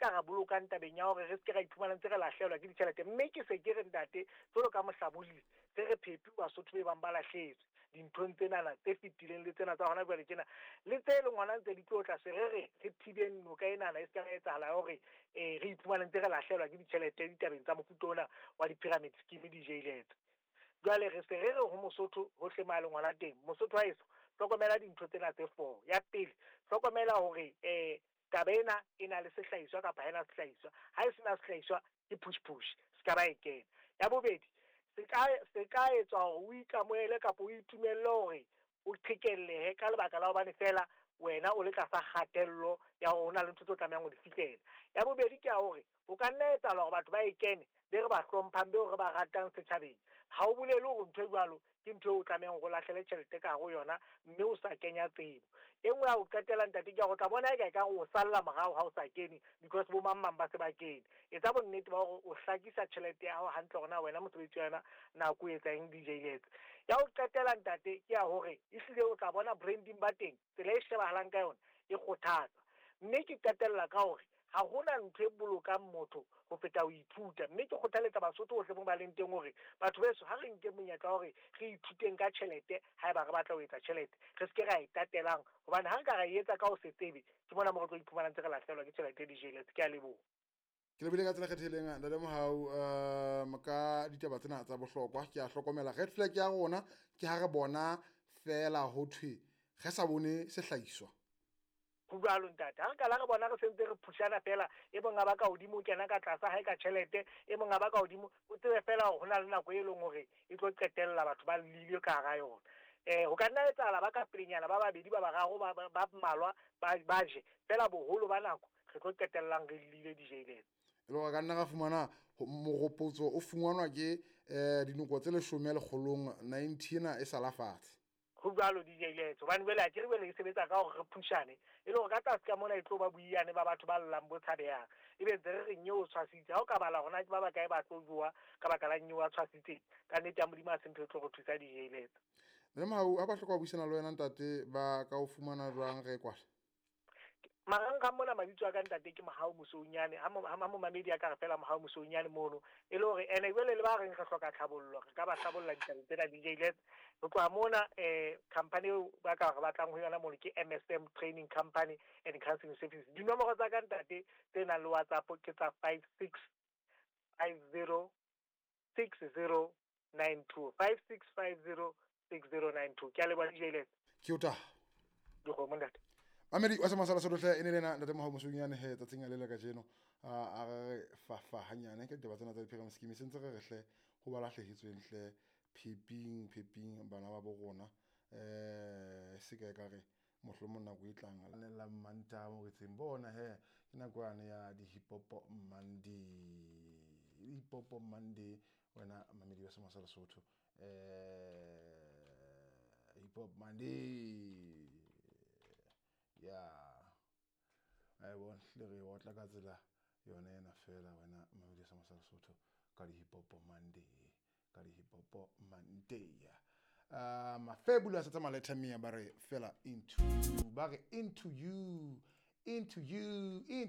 ka re bolokang tabeng ya hore re se ke ra iphumana ntse re lahlehelwa ke ditjhelete. Mme ke se ke re, ntate, jwalo ka mohlabolli, se re phepi Basotho be bang ba lahlehetswe dinthong tsenana tse fetileng le tsena tsa hona jwale tjena, le tse leng hona ntse di tlo tla. Se re re re thibeng noka enana e se ka etsahala ya hore re iphumane ntse re lahlehelwa ke ditjhelete ditabeng tsa mofuta ona wa di-pyramid scheme, di-jailetse. Jwale re se re re ho Mosotho hohle mo a leng hona teng, Mosotho wa heso, hlokomela dintho tsena tse four. Ya pele, hlokomela hore taba ena e na le sehlahiswa kapa ha ena sehlahiswa. Ha e sena sehlahiswa, ke push push, se ka ba e kena. Ya bobedi, se ka etswa hore o ikamohele kapa o itumelle hore o qhekellehe ka lebaka la hobane fela wena o le tlasa kgatello ya hore ho na le ntho tse o tlamehang ho di fihlela. Ya bobedi ke ya hore o ka nna etsahala hore batho ba e kene be re ba hlomphang, beo re ba ratang setjhabeng. Ha o bolele hore ntho e jwalo ke ntho eo o tlamehang hore o lahlele tjhelete ka hare ho yona mme o sa kenya tsebo. E nngwe ya ho qetela, ntate, ke ya hore o tla bona eka ekare o salla morao ha o sa kene because bo mang mang ba se ba kene. Etsa bonnete ba hore o hlakisa tjhelete ya hao hantle hore na wena mosebetsi wa yona nako o etsa eng, di-jailetse. Ya ho qetela, ntate, ke ya hore ehlile o tla bona branding ba teng, tsela e shebahalang ka yona e kgothatsa. Mme ke qetella ka hore ha hona ntho e bolokang motho ho feta ho ithuta, mme ke kgothaletsa Basotho hohle mo ba leng teng hore batho beso, ha re nke monyetla wa hore re ithuteng ka tjhelete. Haeba re batla ho etsa tjhelete, re se ke ra e tatelang, hobane ha re ka ra e etsa ka ho se tsebe, ke mona mo re tlo iphumana ntse re lahlehelwa ke tjhelete, di-jailetse. Ke a leboha. Ke lebile ka tsela kgethehileng, ntate Mohau, ka ditaba tsena tsa bohlokwa. Ke a hlokomela red flag ya rona ke ha re bona fela ho thwe re sa bone sehlahiswa. Ho jwalo, ntate. Ha re kala re bona re sentse re phushana fela, e mong a ba ka hodimo, o kena ka tlasa hae ka tjhelete, e mong a ba ka hodimo, o tsebe fela hore ho na le nako e leng hore e tlo qetella batho ba llile ka hara yona. Ho ka nna etsahala ba ka pelenyana ba babedi, ba bararo, ba mmalwa ba je fela, boholo ba nako re tlo qetellang re llile, di-jailetse. E le hore ka nna ra fumana moropotso o fumanwa ke dinoko tse 10 lekgolong 90 ena e sala fatshe. Ho jwalo, di-jailetse, hobane jwale akere jwale e sebetsa ka hore re phushane, e le hore ka tlase ka mona e tlo ba boiyane ba batho ba llang bo tshabehang, ebe ntse re re nyeo o tshwasitse. Ha o ka bala hore na ke ba bakae ba tlo jowa ka baka la nyeo a tshwasitseng, ka nnete ya Modimo ha se ntho e tlo re thusa, di-jailetse. Ntate Mohau, ha ba hloka ho buisana le wena, ntate, ba ka o fumana jwang re kwale? Marangrang mona, mabitso a ka, ntate, ke Mohau Mosounyane. Ha momamedi a ka re fela Mohau Mosounyane mono, e le hore ene jwale le ba reng re hloka tlhabollo, re ka ba hlabolla ditabeng tsena, di-jailetse. Ho tloha mona, company eo ba ka re batlang ho yona mono ke MSM Training Company and Counseling Services. Dinomoro tsa ka, ntate, tse nang le WhatsApp ke tsa 56506092, 56506092. Ke a leboha, di-jailetse. Ke o taha. Dikgomo, ntate. Mamedi wa semasala sotohle, e ne lena ntate Mohau Mosounyane he tsatsing le le kajeno a re fafa hanyane ka ditaba tsena tsa di-pyramid scheme. Se ntse re re hle ho ba lahlehetsweng hle, pheping pheping bana ba bo rona, se ka e ka re mohlomong nako e tlang le la Mantaha mo re tseng bona he ke nako yane ya di-Hip Hop Monday, Hip Hop Monday. Wena mamedi wa semosa Lesotho, Hip Hop Monday ya a e bona le re otla ka tsela yona ena fela. Wena mamedi wa semosa Lesotho, ka di-Hip Hop Monday, ka di-Hip Hop Monday, Fabulous tsa Maleta Mia, ba re fela into you, ba re into you, into you, into